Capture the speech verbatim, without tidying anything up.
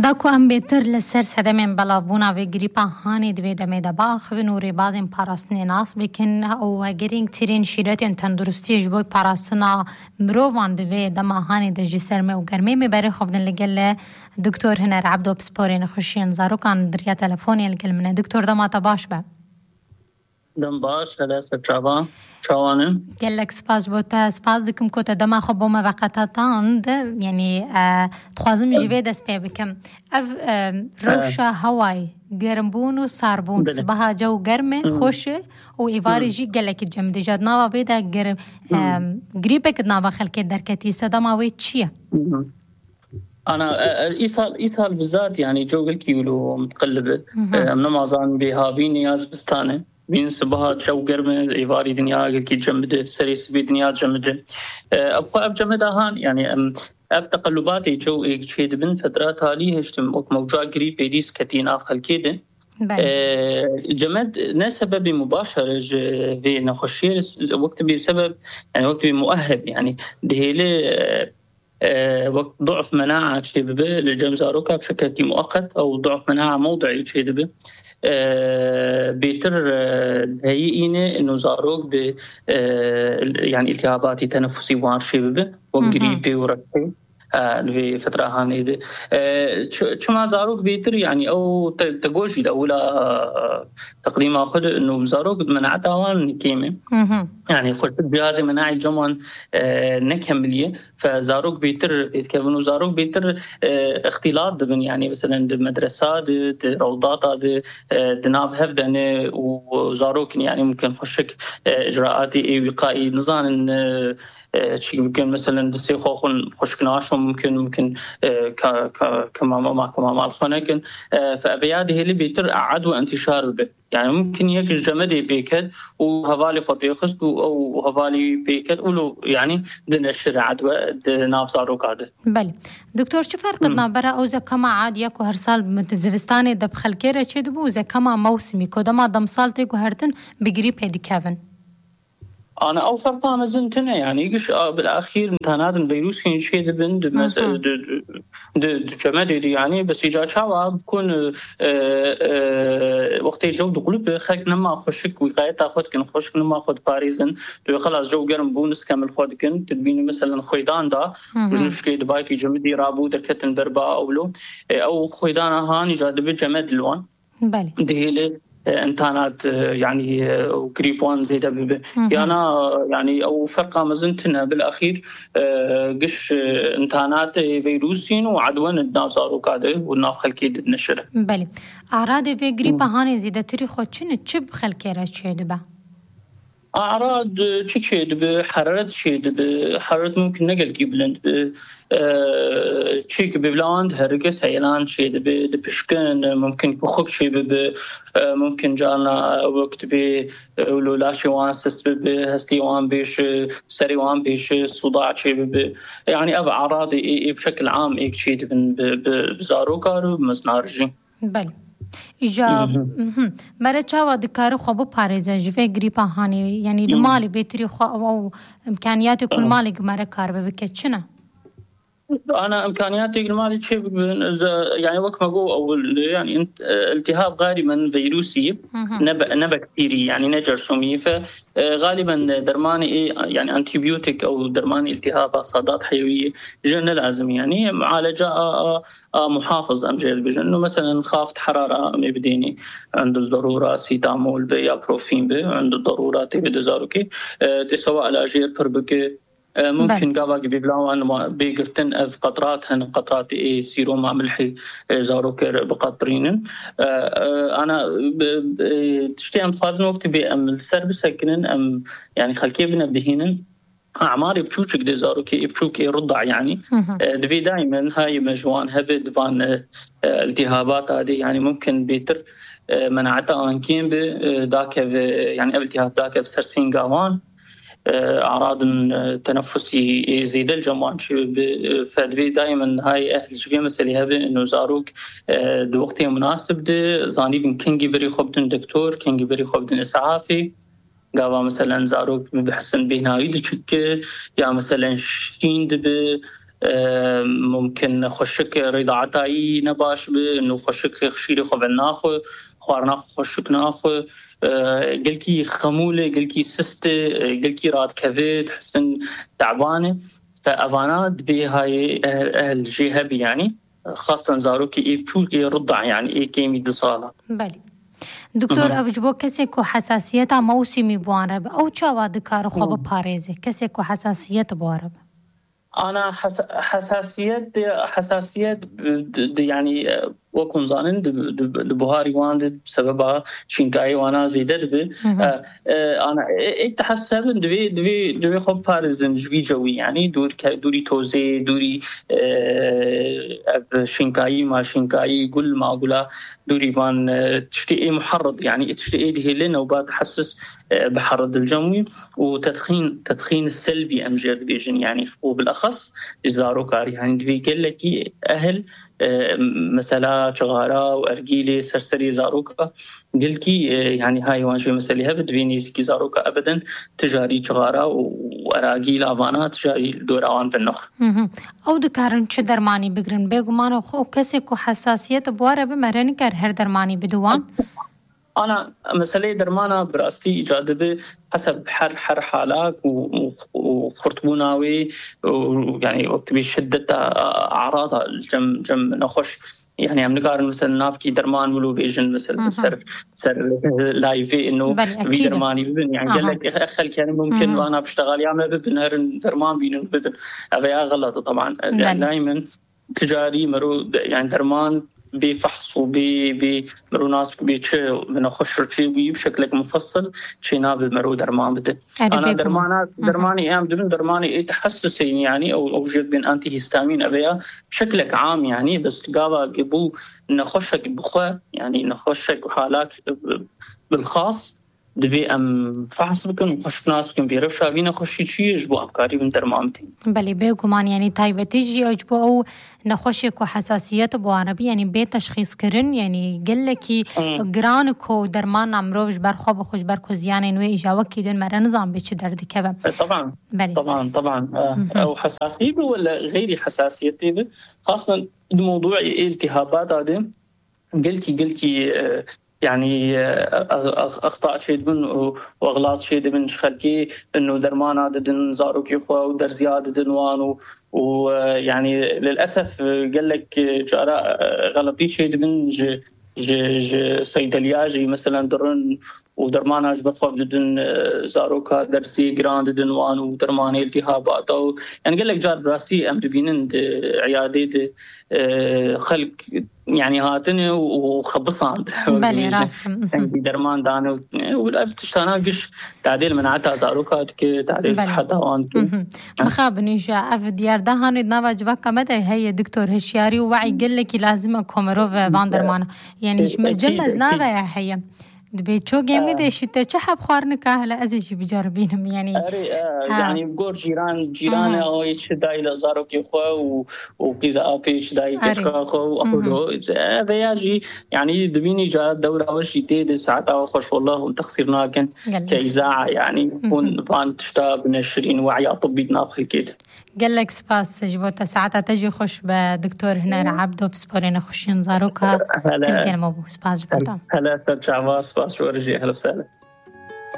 Da ku em bêtir li ser sedemên belavbûna vê grîpa hanê di vê demê de biaxivin û rêbazên parastinê nas bikin û girîngtirîn şîretên tenduristiyê ji bo parastina mirovan di vê dema hanê de ji ser me û germê me berê xwe bidin, li gel Doktor Hiner Ebdo, pisporê nexweşiyên zarokan, di riya telefonê li gel min e. Doktor, dema te baş be. Dem baş, hele ser çavan, çawan in? Gelek spas bo te. Spas dikim ku te dema xwe bo me veqetand. Yanî, e, dixwazim ji vê dest pê bikim. Ev, e, rewşa hewayê, germbûn û sarbûn, Belê. Sibaha cew germ e, Hı. xweş e û êvarê Hı. jî gelekî cem dije. Di nava vê de ger-, Hı. e, grîpek di nava xelkê derketî. Sedema wê çi ye? Hı hı. Ana, e, e, îsal, îsal bizat, yani, cewgilkî wilo mutqillib. Hı hı. E, em nemazan bê havîn ya zibistane. Bîn sibaha çew germ e, êvarî dinya gelkî cem bide, serê sibê dinya cem bide. E, ev xwe ev cem e dahan, yani, em, ev teqellubatê cew êk çê dibin, fetra talî hiştim, wek mewca grîpê dîs ketî nav xelkê de. Belê. E, cemed ne sebebê mubaşer e ji vê nexweşiyê, s-, wek tibê sebeb, yani, wek tibê mueheb, yani, dihêle, e, e, wek du'f menaa çêbibe li cem zaroka bi şekekî mueqet ew du'f menaa mewdi'î çêdibe. E, bêtir, e, heyî îne ino zarok bi, e, yani îltihabatî tenefusî wan çêbibe, wek Hı hı. grîpê û reqê, e, li vê fetra hanê de. E, çi-, çima zarok bêtir, yani ew te, te got jî de wila, e, teqdîma xwe de ino zarok menaeta wan kêm e. Hı hı. Yani xweşik cihazê menaî cem wan, e, nekemiliye. Fe zarok bêtir pêdikevin û zarok bêtir, e, îxtîlat dibin. Yani, meselen, di medresa de, di rewdata de, e, di nav hev de ne û zarok in, yani, mumkin xweşik, e, icraatê ê wîqaî nizanin, e, e, çi mumkin, meselen, distê xwe xwin xweşik naşon, mumkin, mumkin, e, ka, ka, ka mama, ma, ka mama li xwe nekin. E, fe ev ya dihêli bêtir e'ed û entîşar bibe. Yani mumkin yek ji cemedê pêket û hevalê xwe pêxist û ew hevalî pêket û lo, yani di neşir edwe di nav zaroka de. Belê. Doktor, çi ferq Hmm. dina bera ew zekema adiya ku her sal di zivistanê de bi xelkê re çêdibû û zekema mewsimî ku dema demsal tê guhertin bi grîpê dikevin? Ana ew ferqa mezin tune, yani giş a, bil axîr imtihanatên vîrusî çêdibin di Hı hı. mese-, di, di, di, di cemedê de, yani, bes îca çawa bikun, e, e, wextê cew diqulip, xelk nema xweşik wîqayeta xwe dikin, xweşik nema xwe diparêzin. Tu xelas cew germ bû, niskemil xwe dikin. Tu dibînî, meselen, xwêdan da, Hı hı. ji nuşkê di bayekî cemidî rabû, derketin ber ba ewlo. E, ew xwêdana han îca dibe cemed li wan. Belê. Dihêle, e, imtihanat, e, yani, e, û grîp wan zêde bibe. Hı hı. Yana, yani, ew ferqa mezin tune, bil axîr, e, giş, e, imtihanat, e, vîrusîn û edwen di nav zaroka de û nav xelkê de dineşire. Belê. Aradê vê grîpa Hı. hanê zêdetirî xwe çi ne? Çi bi xelkê re çêdibe? Arad, e, çi çêdibe? Heraret çêdibe. Heraret mumkin ne gelkî bilind be. E, çêkî bêvla wan diherike, seyelan çêdibe, dipişkin, mumkin kuxik çêbibe, e, mumkin carna wek dibê, e, wilo laşê wan sist bibe, hestê wan bêşe, serê wan bêşe, suda çêbibe. Yani ev aradê ê, ê bi şekil am êk çêdibin bi, bi, bi zarokar û bi meznar jî. Belê. Îca, Hı hı. mhm. Mere çawa dikare xwe biparêze ji vê grîpa hanê? Yanî li Hı. malê bêtirî xwe ew, ew imkaniyatê ku li Hı. malê ku mere kar be bike çi ne? Ana imkaniyatê li malê çê bibin, ze-, yani wek me got ewil, yani int-, e, iltihab galiben vîrusî, Hı hı. ne be-, ne bakterî, yani ne cersûmî. Fe, e, galiben dermanê ê, yani antibiyotîk ew dermanê iltihaba sadat heyewî jê ne lazim, yani mualeca a, a, a muhafiz em jê dibêjin. Û meselen xaft herara em ê bidênî, end darûra sîtamol be ya profîn be, end darûra tê bide zarokê, e, tê sewa ela jê pir bike. E, mumkin Belê. gava ki bêvla wan ma bê girtin ev qetrat hene, qetratê ê sîroma milhê, e, zarokê re biqetirînin. E, e, ana, bi, bi, tiştê em dixwazin wextê bê em li ser bisekinin, em, yani xelkê bine bihînin. Amarê biçûçik de zarokê ê biçûk ê rida, yani, Hı hı. e, divê daimen hayê me ji wan hebe di van, e, e, iltihabata de, yani, mumkin bêtir, e, menaeta an kêm be, e, dakeve, yani, ev iltihab dakeve ser sînga wan. E, aradin, e, tenefusî ê zêde li cem wan çêbibe, e, fe divê daimen hayê ehl ji vê meselê hebe, ino zarok, e, di wextê munasib de zanîbin kengî berî xwe bidin doktor, kengî berî xwe bidin îsafê. Gava, meselen, zarok bi behsin bêhnawî diçike, ya, meselen, şîn dibe, e, mumkin xweşik rêdaetayî ne baş bi, nû xweşik şîrê xwe venaxwe, xwarina xwe xweşik naxwe, e, gelkî xemûl e, gelkî sist e, e, gelkî radikeve, dihisin teban e. Fe evana dibê hayê ehl, ehl jê hebî, yanî xastan zarokê ê biçûk ê rida, yanî ê kêmî du sala. Belê. Doktor, Hı hı. ev ji bo kesê ku hesasiyeta mewsîmî bi wan re be, ew çawa dikare xwe Hı. biparêze? Kesê ku hesasiyet bi wan re be. Ana hesa-, hesasiyet, hesasiyet di, di, yanî, e, wek hûn zanin, di, di, di buharî wan de sebeba şînkayê wana zêde dibe. Hı hı. E, e, ana, e, e, tehesebin divê, divê, divê xwe biparêzin ji vî cewî, yanî dûr ke-, dûrî tozê, dûrî, e, ev şînkayî, ma şînkayî, gul, ma gula, dûrî van, e, tiştê ê muherrid, yanî ê tiştê ê dihêle newbat hesis, e, biherrid li cem wî û tedxîn, tedxîn selbî em jê dibêjin, yanî û bilexas ji zarokarî, yanî divê gelekî ehil, e, mesela çixara û ergîlê ser serê zaroka, gelkî, e, yanî hayê wan ji vê meselê hebe, divê nêzîkî zaroka ebeden tijarî çixara û eragîla vana tijarî dora wan binixwe. Hı hı. Ew dikarin çi dermanî bigirin? Bêguman ew xwe, kesê ku hesasiyet bi wa re be, mere nikar her dermanî bide wan. Ana, meseleyê dermana bi rastî îca dibe heseb her, her halak û, û, û xurtbûna wê û, yanî wek dibê şiddeta, a, arada cem, cem nexweş. Yanî em nikarin mesela navkî derman wilo bêjin mesela Hı hı. ser, ser live ino Belê, vî ekîd e. dermanî bibin. Yanî Aha. gelek xelk yani mumkin Hı hı. vana piştexaliya me bibin, herin derman bînin bibin. Ev ya xelet e, taban. Belê. Daimen ticarî mero de-, yani derman bê fehs û bê, bê mero nas bê çi, bi nexweş çi wî bi şeklek mufassil çê nabe mero derman bide. Erê, Ana bêguman. dermana, Hı hı. dermanê em dibin, dermanê ê tehessusê, yani ew, ew jê bin antihistamîn, ev ya bi şeklek am, yani bes gava ki bû nexweşek bi xwe, yani nexweşek halak, e, bilxas, divê em fehs bikin û xweş bi nas bikin, vê rewşa vî nexweşî çi ye, ji bo em karîbin derman bidin. Belê, bêguman, yanî taybetî jî ew ji bo ew nexweşê ku hesasiyet bi wan re bî, yanî bê teşxîs kirin, yanî gelekî Hmm. giran ku dermana mirov ji ber xwe bixwe, ji ber ku ziyanên wê îja wekî din me re nizan bê çi derdikeve. E, taban. Belê. Taban, taban. E, Hı hı. ew hesasî bi wele xeyrî hesasiyetê bi. Xastan di mewdûê iltihabata de gelkî, gelkî, e, yani, e, ex-, ex-, exta çêdibin û, û exlat çêdibin ji xelkê, ino dermana didin zarokê xwe û derziya didin wan û, û, e, yani, lilesef, e, gelek, e, cara, e, xeletî çêdibin ji, ji, ji seydeliya jî, meselen, dirin û dermana ji ber xwe didin, e, zaroka derzê giran didin wan û dermanê iltihabata û, yani, gelek car bi rastî em dibînin di eyadê de, e, xelk, yani, hatine û, û xebisand. Belê, rast e. Dengî derman dane û, û ev tiştana giş tadê li menata zaroka dike, tadê Belê. siheta wan dike. Mhm. Mixabin îja ev diyar de hanê di nava civaka me de heye, doktor, hişyarî û we'î gelekî lazim e ku mirov van dermana. Yani ji me, Ekîd, cem ez ekîd. nave ya heye. Dibê ço gemê de şî te çi heb xwarinika, hele ez ê jî biceribînim, yani. Erê, e, Ha. yani gor cîran, cîran e, Mhm. o çi dayî li zarokê xwe û, û qîza apê çi dayî Erê. keçika xwe û Mhm. ew do. E, veya jî, yani dibînî ca dewra we jî tê de saeta we xweş, wallah hûn texsîr nakin. Gelek. Ke îza, yani Mhm. hûn van tişta bine şirîn we'ya tibbî di nav xelkê de. Gelek spas ji bo te, saeta te jî xweş be, Doktor Huner Ebdo, pisporê nexweşiyên zaroka. Hele. Tilkên me bû. Spas ji bo te. Hele ser çava, spas ji we re jî. Ehlen we sehlen.